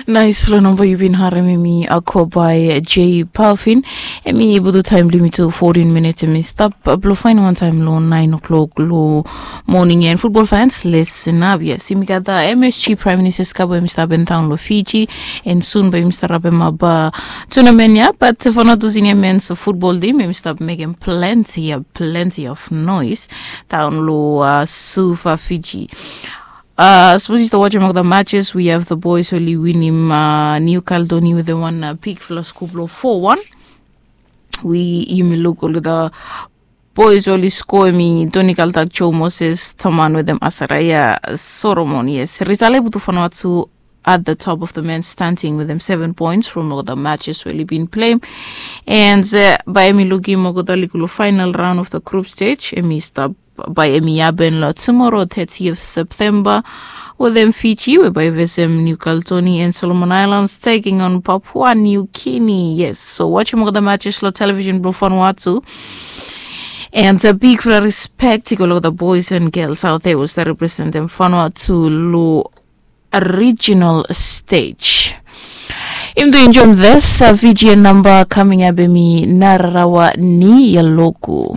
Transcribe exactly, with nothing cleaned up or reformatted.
Nais flo namba yu bin harem emi ako bai j palfin. Emi butu taim blimi tu fourteen minutes emi stap blo fain wan taim lo nine o'clock lo morning and football fans listen up. Yes, imi gat the msg prime minister skabo emi stap en taun lo fiji. And soon bai imi stap rapem aba tunamen ya, but for not using a men's football team emi stap mekem plenty, plenty of noise taun lo uh, sufa fiji. Uh, suppose you start watching all the matches, we have the boys oli win him uh, New Caledonia with the one uh, big flash kublo four one. We him look all the boys oli score me Tony Kaltak, Joe Moses, Toman with them Asaraya Solomon. Yes, Rizale Butufanwatu at the top of the men's standing with them seven points from all the matches we been playing. And uh, by Emi Lugi Mogoda Likulo final round of the group stage, Emi stop by Emi Abenlo tomorrow, thirtieth September, with them Fiji, whereby Vesem, New Caledonia, and Solomon Islands taking on Papua New Guinea. Yes, so watching all the matches lo television blo Vanuatu. And a big fla respect to all the boys and girls out there was that represent them Vanuatu lo regional stage. Im do enjoy this uh, Fijian number coming up emi nararawa ni yaloku.